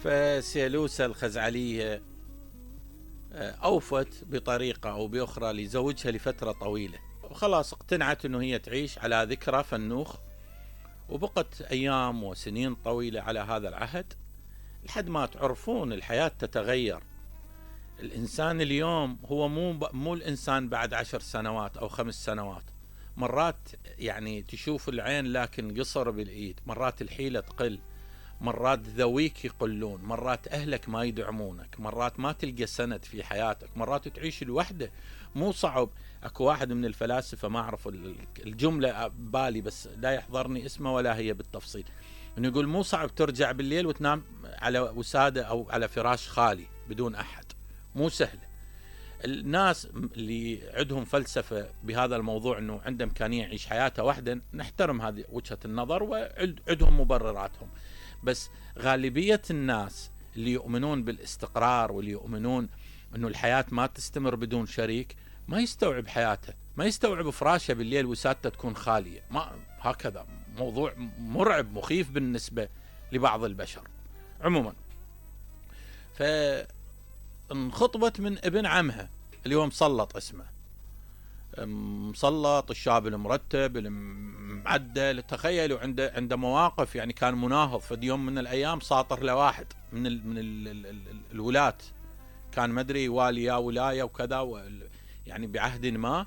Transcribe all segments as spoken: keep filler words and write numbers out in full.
فسيلوسة الخزعلية أوفت بطريقة أو بأخرى لزوجها لفترة طويلة، وخلاص اقتنعت أنه هي تعيش على ذكرى فنوخ، وبقت أيام وسنين طويلة على هذا العهد لحد ما تعرفون الحياة تتغير. الإنسان اليوم هو مو مو الإنسان بعد عشر سنوات أو خمس سنوات. مرات يعني تشوف العين لكن قصر بالإيد، مرات الحيلة تقل، مرات ذويك يقلون، مرات أهلك ما يدعمونك، مرات ما تلقى سند في حياتك، مرات تعيش الوحدة. مو صعب. أكو واحد من الفلاسفة ما أعرف الجملة بالي بس لا يحضرني اسمه ولا هي بالتفصيل، إنه يقول مو صعب ترجع بالليل وتنام على وسادة أو على فراش خالي بدون أحد، مو سهل. الناس اللي عندهم فلسفة بهذا الموضوع أنه عنده إمكانية يعيش حياته وحده، نحترم هذه وجهة النظر وعندهم مبرراتهم، بس غالبية الناس اللي يؤمنون بالاستقرار واللي يؤمنون أنه الحياة ما تستمر بدون شريك ما يستوعب حياته، ما يستوعب فراشه بالليل وسادته تكون خالية. ما هكذا موضوع مرعب مخيف بالنسبة لبعض البشر. عموما فانخطبت من ابن عمها اللي هو مسلط اسمه، مسلط الشاب المرتب المعدل. تخيلوا عنده عنده مواقف، يعني كان مناهض في يوم من الايام ساطر لواحد من ال من ال ال ال الولاة، كان مدري والي يا ولايه وكذا، يعني بعهد ما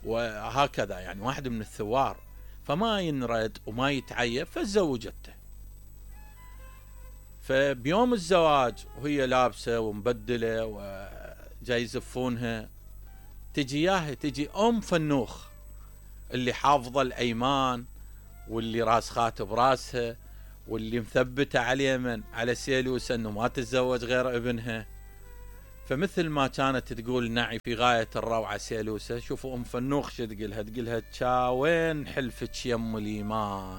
وهكذا، يعني واحد من الثوار، فما ينرد وما يتعيب فزوجته. فبيوم الزواج وهي لابسه ومبدله وجاي يزفونها، تجي ياها تجي ام فنوخ اللي حافظه الايمان واللي راسخات براسها واللي مثبته على اليمن على سيلوسة انه ما تتزوج غير ابنها. فمثل ما كانت تقول نعي في غايه الروعه سيلوسة، شوفوا ام فنوخ شو تقولها، تقولها تشاوين حلفك يم الايمان.